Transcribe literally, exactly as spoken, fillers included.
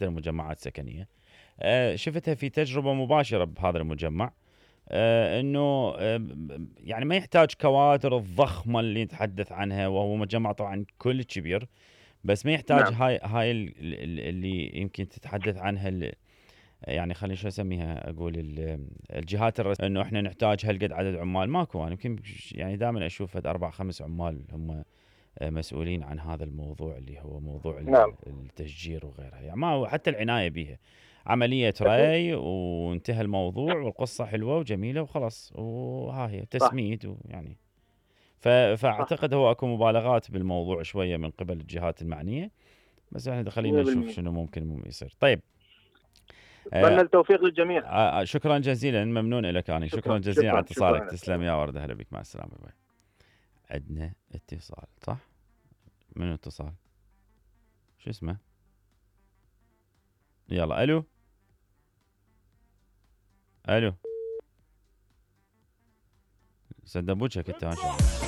المجمعات السكنيه. أه شفتها في تجربه مباشره بهذا المجمع، أه انه أه يعني ما يحتاج كوادر الضخمه اللي نتحدث عنها، وهو مجمع طبعا كل كبير، بس ما يحتاج نعم. هاي هاي اللي يمكن تتحدث عنها، يعني خليني شو اسميها، اقول الجهات الرسميه، انه احنا نحتاج هالقد عدد عمال. ماكو. انا يمكن يعني دائما اشوف اربع خمس عمال هم مسؤولين عن هذا الموضوع اللي هو موضوع نعم. التشجير وغيرها، يعني ما حتى العنايه بها عمليه أكيد. ري وانتهى الموضوع والقصه حلوه وجميله وخلاص، وها هي صح. تسميد ويعني صح. فاعتقد هو اكو مبالغات بالموضوع شويه من قبل الجهات المعنيه، بس احنا خلينا نشوف مية بالمية. شنو ممكن يصير. طيب. اتمنى التوفيق للجميع. آه شكرا جزيلا، ممنون لك انا، شكرا شكرا جزيلا على شكرا اتصالك، شكرا تسلم يا ورده، هلا بك، مع السلامه. باي. عندنا اتصال صح؟ منو اتصال؟ شو اسمه؟ يلا الو الو، سدبوجك انت ما شاء الله.